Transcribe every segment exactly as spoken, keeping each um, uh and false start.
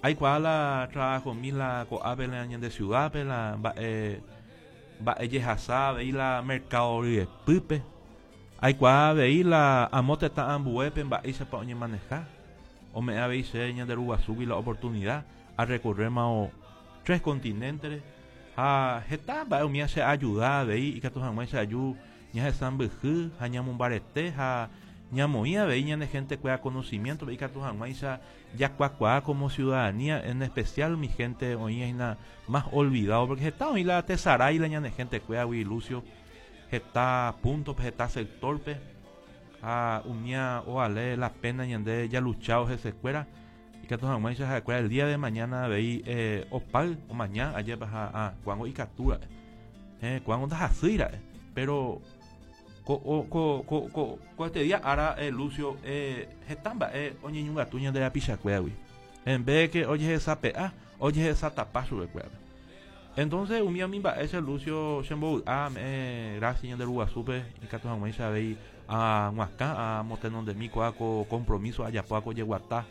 Aikuaa la trabajo mi la ko'ápe la ñande ciudad-pe la mba'e mba'e jehasa avei la mercado ryepýpe. Aikuaa avei la amo tetã ambuépe mba'éichapa oñemaneja. Ome'ẽ avei che ñande Ruguasúgui la oportunidad a recorrer-ma tres continentes ha heta mba'e umi che ayuda avei ikatu hag̃uáicha aju ñahesãmbyhy ha ñamombarete ha ñamoĩ avei ñane gente kuéra conocimiento ikatu hag̃uáicha jakuakuaa como ciudadanía, en especial mi gente oĩ hína más olvidado, porque heta oĩ la tesarái la ñane gente kuéragui, Lucio, heta punto-pe, heta sector-pe, ha umía ovale la pena ñande jaluchao hesekuéra ikatu hag̃uáicha ha'ekuéra el día de mañana avei eh, opáy omaña ajépa ha ah, ko'ág̃a ikatúra'e eh, ko'ág̃a ndahasýira'e, pero ko, ko, ko, ko, ko este día ára eh, Lucio, eh, heta mba'e oñeñongatu ñande rapichakuéragui en vez que ojehesape'a ojehesatapa chupekuérape. Entonces umi umi mba'e che, Lucio, chembovy'a eh, gracias ñande Ruguasúpe ikatu hag̃uáicha avei ag̃uakã amotenondemi ko'a ko compromiso ajapo ko jeguata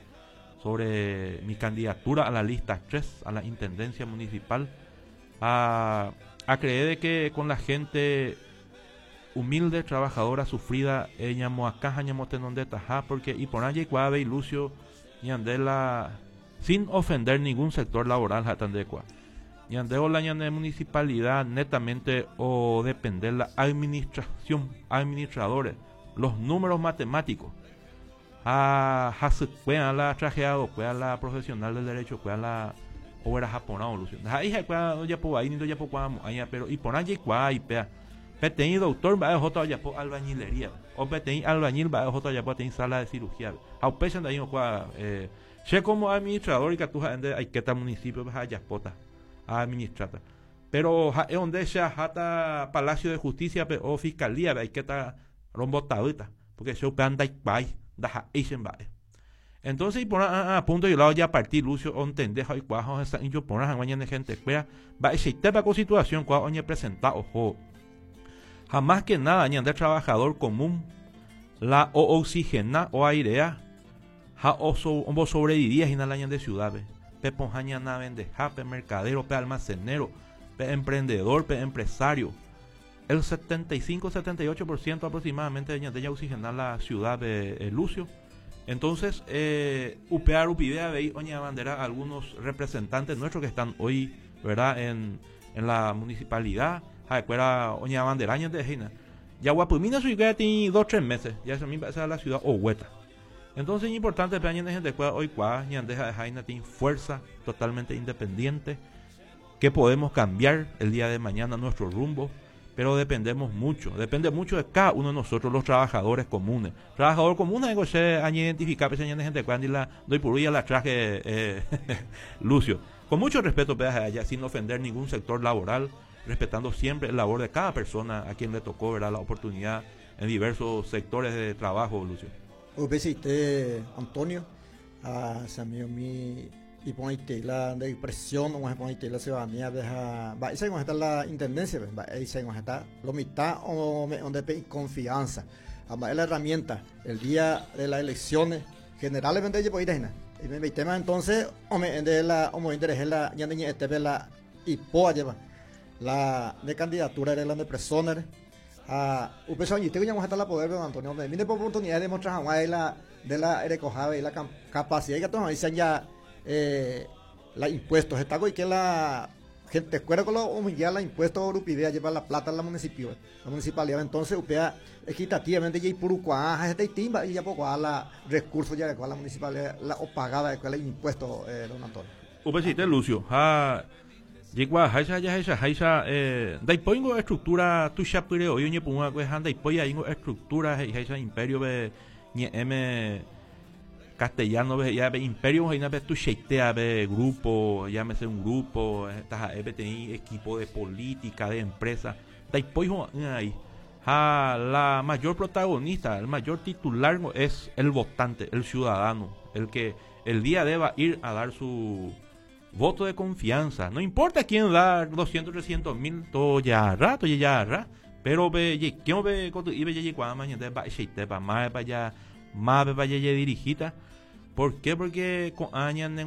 sobre mi candidatura a la lista tres a la intendencia municipal, a, a creer de que con la gente humilde, trabajadora, sufrida, eh, ñamoakã ha ñamotenondetaha, porque iporã jaikuaa avei, Lucio, ñande la sin ofender ningún sector laboral ha tandekua ñande la ñane municipalidad netamente o depender la administración, administradores, los números matemáticos ha hasykuéa la trajeado kuéa la profesional del derecho kuéa la ogueraha porã, Lucio, ha'e ha'ekuéra ojapo vai ni ndojapokuaamo'ãiva, pero iporã jaikuaa ipéa peteĩ doctor mba'e ohóta ojapo albañilería o peteĩ albañil mba'e ohóta ojapo peteĩ sala de cirugía ha upéicha ndai okua eh, che como administrador ikatu ha'e aikéta municipio ha ajapóta administrata, pero ha'e onde che aháta Palacio de Justicia pe o Fiscalía pe aikéta rombotavýta porque che upéva ndaikuaái ndaha'éi che mba'e. Entonces iporã a punto y lado ya partir, Lucio, ontende ha oikuaa ha ohesa'ỹijo porã hag̃ua ñane gente kuéra mba'eichaitépa ko situación kua oñepresenta oho ha más que nada ñande trabajador común la o oxigena o airea ha ombosobrevivía hína la ñande ciudad-pe pe pohã ñana vendeha pe mercadero, pe almacenero, pe emprendedor, pe empresario. El setenta y cinco setenta y ocho por ciento aproximadamente de ñande oxigena la ciudad de eh, Lucio. Entonces eh, upéva rupive avei oñeabandera algunos representantes nuestros que están hoy, ¿verdad?, en, en la municipalidad ha'ekuéra oñeabandera ñande hína jaguapymína chuikuéra tĩ dos tres meses ya esa misma esa la ciudad oguéta. Entonces es importante pe ñande gente kuéra oikuaa ñande ha'eha tĩ fuerza totalmente independiente que podemos cambiar el día de mañana nuestro rumbo, pero dependemos mucho, depende mucho de cada uno de nosotros, los trabajadores comunes. Trabajador común es que se identifica, pues gente cuando la doy por la traje eh, Lucio. Con mucho respeto, allá, sin ofender ningún sector laboral, respetando siempre el labor de cada persona a quien le tocó, ¿verdad?, la oportunidad en diversos sectores de trabajo, Lucio. Upeichaite, Antonio, a mi iporãite la de presión oporãite la ciudadanía deja va esa está la intendencia va esa está lo mitad o donde pe confianza a la herramienta el día de las elecciones generalmente yo puedo y me tema entonces o me de la o me interesa la ñande ñe'ẽtépe la ipo lleva la de candidatura de la de personas a upéicha oñete ñamoheta la poder don Antonio me mire por oportunidad de mostrar de la de la erekoha y la capacidad que todos dicen ya eh, la impuestos está que la gente escuela con lo humillar la impuestos rupidea lleva la plata a la municipio la municipalidad. Entonces upea equitativamente ya ipurukuaa este timba y ya poco a la recursos ya de la municipalidad la o pagada de la impuesto eh, don Antonio. Upeichaite, Lucio, ha jaikuaaháicha jahechaháicha eh, ndaipóingo estructura tuichapyre oi oñepyrũva'ekue ha ndaipói aíngo estructura he'iháicha imperio-pe ñe'ẽme castellano he'íva pe imperio he'ína pe tuichaitéa pe grupo, llámese un grupo taha'e peteĩ equipo de política, de empresa, ndaipói ho'a'ỹ aí ha la mayor protagonista, el mayor titular es el votante, el ciudadano, el que el día deba ir a dar su voto de confianza. No importa quién da doscientos, trescientos mil, todo ya rato, ya ra, pero pe ye pe kotu ibe ye kwa ma ñande ba sheite pa ma pa ya ma pa ye dirigita. ¿Por qué? Porque con años